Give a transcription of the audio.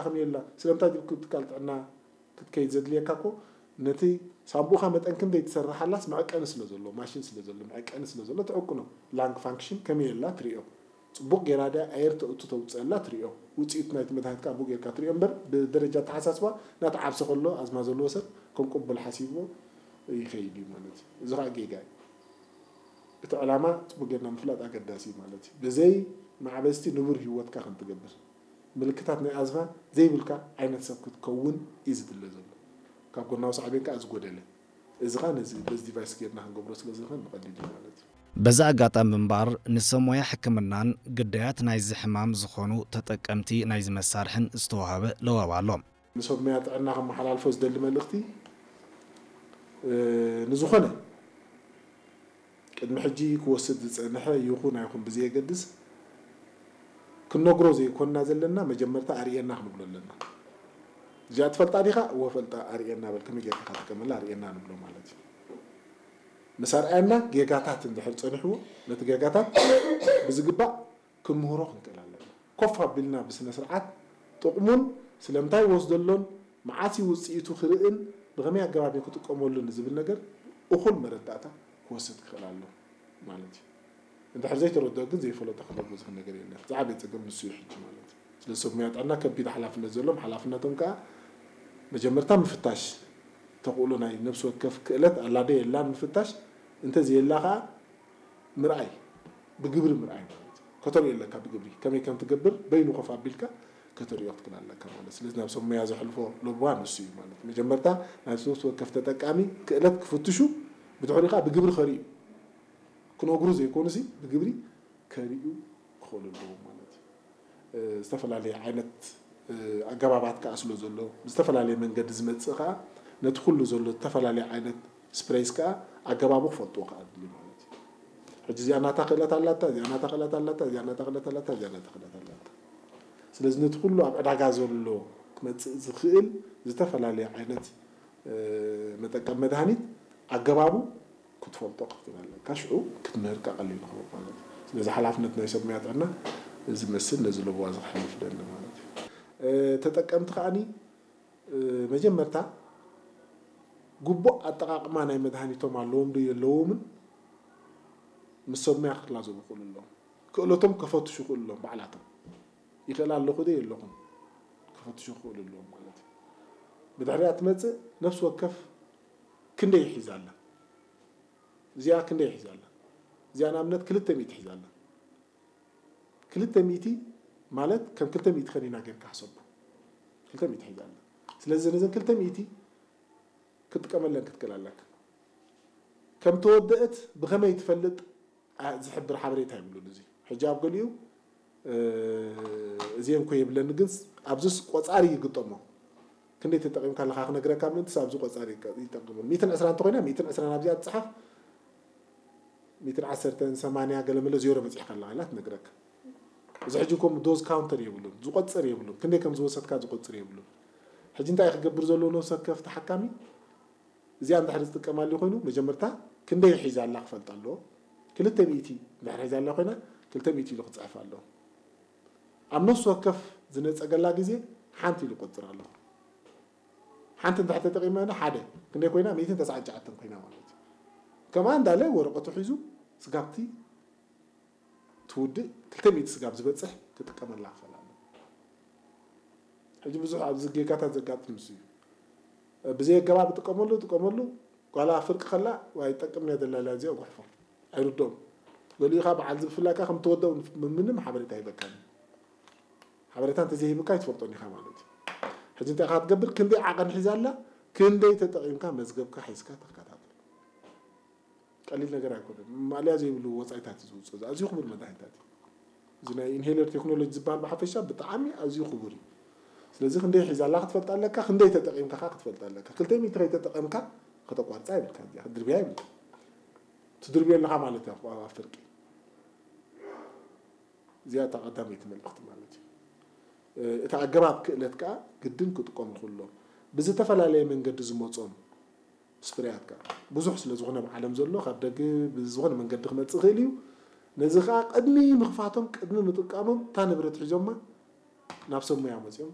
ከመይ ኣላ? ስለምንታይ ድልኩ ትካል ጥዕና ክትከይድ ዘድልየካ እኮ ነቲ ሳንቡእኻ መጠን ክንደይ ትሰርሓላስ መዐቀኒ ስለ ዘሎ፣ ማሽን ስለ ዘሎ፣ መዐቀኒ ስለ ዘሎ ትዕቅኖ። ላንግ ፋንክሽን ከመይ ኣላ ትሪኦ። ጽቡቕ ጌራ ድያ ኣየር ተእቱ ተውፅአላ ትሪኦ። ውፅኢት ናይቲ መድሃኒት ከዓ ብኡ ጌርካ ትሪኦ እምበር ብደረጃ ኣተሓሳስባ ናቲ ዓብሲ ከሎ ኣዝማ ዘለዎ ሰብ ከም ቅቡል ሓሲብዎ ይኸይድ እዩ ማለት እዩ። እዚ ከዓ ጌጋ እዩ። እቲ ዕላማ ጽቡቕ ጌርና ምፍላጥ ኣገዳሲ እዩ ማለት እዩ። ብዘይ ማዕበስቲ ንቡር ህይወትካ ከም ትገብር ምልክታት ናይ ኣዝማ ዘይብልካ ዓይነት ሰብ ክትከውን እዩ ዝድለ ዘሎ። ካብ ጎናዊ ሳዕቤን ከዓ ዝጎደለ እዚ ከዓ ነዚ በዚ ዲቫይስ ጌርና ክንገብሮ ስለ ዝኽእል ንቐሊል እዩ ማለት እዩ። በዚ ኣጋጣሚ እምበኣር ንሰብ ሞያ ሕክምናን ግዳያት ናይዚ ሕማም ዝኾኑ ተጠቀምቲ ናይዚ መሳርሕን ዝተዋህበ ለዋብ ኣሎ። ንሰብ ሞያ ጥዕና ከመሓላልፎ ዝደሊ መልእኽቲ ንዝኾነ ቅድሚ ሕጂ ክወስድ ዝጸንሐ ይኹን ኣይኹን ብዘየገድስ ክንነግሮ ዘይኮንና ዘለና መጀመርታ ኣርእየና ክንብሎ ኣለና። እዚኣ ትፈልጣ ዲኻ? እወ ፈልጣ፣ ኣርእየና በል፣ ከመይ ጌርካ ትጥቀመላ ኣርእየና ንብሎ ማለት እዩ። ምስ ኣርኣየና ጌጋታት እንድሕር ጸኒሕዎ ነቲ ጌጋታት ብዝግባእ ክንምህሮ ክንክእል ኣለና። ኮፍ ኣቢልና ብስነ ስርዓት ጥቕሙን ስለምንታይ ወስደሎን መዓስ እዩ ውፅኢቱ ክርእን ብኸመይ ኣገባብ እዩ ክጥቀመሉ ንዝብል ነገር እኹል መረዳእታ ክወስድ ክኽእል ኣሎ ማለት እዩ። እንድሕር ዘይተረድኦ ግን ዘይፈለጦ ክነግሮ ዝኽእል ነገር የለን። ዝዓበየ ፀገም ንሱ እዩ ሕጂ ማለት እዩ። ስለዚ ሰብ ሙያ ጥዕና ከቢድ ሓላፍነት ዘለዎም ሓላፍነቶም ከዓ መጀመርታ ምፍታሽ ተኽእሎ ናይ ነብሲ ወከፍ ክእለት ኣላ ዶ የላን ምፍታሽ እንተዘየላ ከዓ ምርኣይ ብግብሪ ምርኣይ ማለት እዩ። ከተርእዮ ኣለካ ብግብሪ ከመይ ከም ትገብር በይኑ ኮፍ ኣቢልካ ከተርእዮ ክትክእል ኣለካ ማለት ስለዚ ናብ ሰብ ሙያ ዘሕልፎ ለብዋ ንሱ እዩ ማለት መጀመርታ ናይ ነብሲ ወከፍ ተጠቃሚ ክእለት ክፍትሹ ብድሕሪኡ ከዓ ብግብሪ ከርእዩ ክነግሩ ዘይኮኑሲ ብግብሪ ከርእዩ ክኽእሉ ኣለዎም ማለት እዩ። ዝተፈላለየ ዓይነት ኣገባባት ከዓ ስለ ዘሎ ብዝተፈላለየ መንገዲ ዝመፅእ ከዓ ነቲ ኩሉ ዘሎ ዝተፈላለየ ዓይነት ስፕሬይስ ከዓ ኣገባቡ ክፈልጥዎ ከዓ ኣድልዩ ማለት እዩ። ሕጂ እዚኣ ናታ ክእለት ኣላታ፣ እዚኣ ናታ ክእለት ኣላታ፣ እዚኣ ናታ ክእለት ኣላታ፣ እዚኣ ናታ ክእለት ኣላታ። ስለዚ ነቲ ኩሉ ኣብ ዕዳጋ ዘሎ ክመፅእ ዝኽእል ዝተፈላለየ ዓይነት መጠቀም መድሃኒት ኣገባቡ ክትፈልጦ ክትክእል ኣለካ። ሽዑ ክትምህር ከዓ ቀሊል ይኸውን ማለት እዩ። ስለዚ ሓላፍነት ናይ ሰብ ሙያ ጥዕና እዚ መስል ነዚ ለበዋ እዚ ክሕልፍ ደሊ ማለት እዩ። ተጠቀምቲ ከዓኒ መጀመርታ ግቡእ ኣጠቓቕማ ናይ መድሃኒቶም ኣለዎም ዶ የለዎምን ምስ ሰብ ሙያ ክላዘቡ ክኽእሉ ኣለዎም። ክእለቶም ከፈትሹ ክኽእሉ ኣለዎም ባዕላቶም። ይኽእል ኣለኹ ዶ የለኹን ከፈትሹ ክኽእሉ ኣለዎም ማለት እዩ። ብድሕሪኣ ትመፅእ ነፍሲ ወከፍ ክንደይ ሒዛ ኣላ? እዚኣ ክንደይ ሒዛ ኣላ? እዚኣ ንኣብነት ክልተ ሚእቲ ሒዛ ኣላ። ክልተ ሚእቲ ማለት ከም ክልተ ሚእቲ ከኒና ጌርካ ሕሰቡ። ክልተ ሚእቲ ሒዛ ኣላ። ስለዚ ነዘን ክልተ ሚእቲ ክትጥቀመለን ክትክእል ኣለካ። ከም ተወደእት ብኸመይ ትፈልጥ ዝሕብር ሓበሬታ ይብሉን። እዚ ሕጂ ኣብ ገሊኡ እዚአን ኮ የብለኒ ግን ኣብዚስ ቆፃሪ ይግጠሞ። ክንደይ ተጠቒምካ ኣለኻ ክነግረካ ምእንትስ ኣብዚ ቆፃሪ ይጠቅም። ሚእትን ዕስራን እንተኾይና ሚእትን ዕስራን ኣብዚኣ ትፅሓፍ። ሚእትን ዓሰርተን ሰማንያ ገለመለ ዜሮ በፂሕካ ኣለኻ ኢላ ትነግረካ። እዚ ሕጂ ኮም ዶዝ ካውንተር የብሉን፣ ዝቆፅር የብሉን። ክንደይ ከም ዝወሰድካ ዝቆፅር የብሉን። ሕጂ እንታይ ክገብር ዘለዎ ነብሲ ወከፍ ተሓካሚ እዚኣ እንድሕር ዝጥቀማሉ ኮይኑ መጀመርታ ክንደይ ሒዛ ኣላ ክፈልጥ ኣለዎ። ክልተ ሚእቲ እንድሕር ሒዛ ኣላ ኮይና ክልተ ሚእቲ ኢሉ ክፅሕፍ ኣለዎ። ኣብ ነፍሲ ወከፍ ዝነፀገላ ግዜ ሓንቲ ኢሉ ቆፅር ኣለዎ። ሓንቲ እንድሕር ተጠቂመ ሓደ ክንደይ ኮይና? ሚእትን ተስዓን ትሽዓተን ኮይና ማለት እዩ። ከምኣ እንዳለ ወረቀቱ ሒዙ ስጋብቲ ትውድእ ክልተ ሚእቲ ስጋብ ዝበፅሕ ክጥቀመላ ክኽእል ኣለዎ። ሕጂ ብዙሕ ኣብዚ ጌጋታት ዘጋጥም ንሱ እዩ። ብዘይ ኣገባብ ጥቀመሉ ጥቀመሉ ጓላ ፍርቂ ከላ ኣይጠቅም እያ ደላላ እዚኣ ጉሕፎ ኣይርድኦም። ገሊኡ ከዓ በዓል ዝብፍላካ ከም ተወደኡ ምንም ሓበሬታ ይበካን። ሓበሬታ እንተዘይሂብካ ኣይትፈልጦን ኢኻ ማለት እዩ። ሕጂ እንታይ ኢኻ ትገብር? ክንደይ ዓቐን ሒዛ ኣላ? ክንደይ ተጠቒምካ መዝገብካ ሒዝካ ተከታተል። ቀሊል ነገር ኣይኮነን። ማእለያ ዘይብሉ ወፃኢታት እዩ ዝውፅእ። እዚ ኣዝዩ ክቡር መድሃኒታት እዩ። እዚ ናይ ኢንሄለር ቴክኖሎጂ ዝበሃል ብሓፈሻ ብጣዕሚ ኣዝዩ ክቡር እዩ። ስለዚ ክንደይ ሒዛ ኣላ ክትፈልጥ ኣለካ፣ ክንደይ ተጠቒምካ ከዓ ክትፈልጥ ኣለካ። ክልተ ሚእቲ ከይተጠቐምካ ከተቋርፃ የብልካ፣ እዚኣ ክትድርብያ የብልካ። ትድርብዮ ኣለኻ ማለት እዩ ኣብ ፍርቂ። እዚኣ እታ ቀዳመይቲ መልእኽቲ ማለት እዩ። እቲ ኣገባብ ክእለት ከዓ ግድን ክጥቀሙ ክህሎም ብዝተፈላለየ መንገዲ ዝመፆም ስፕሬያት ከዓ ብዙሕ ስለ ዝኾነ ኣብ ዓለም ዘሎ ካብ ደገ ብዝኾነ መንገዲ ክመፅእ ይኽእል እዩ። ነዚ ከዓ ቅድሚ ምኽፋቶም ቅድሚ ምጥቃሞም እታ ንብረት ሒዞማ ናብ ሰብ ሙያ መፂኦም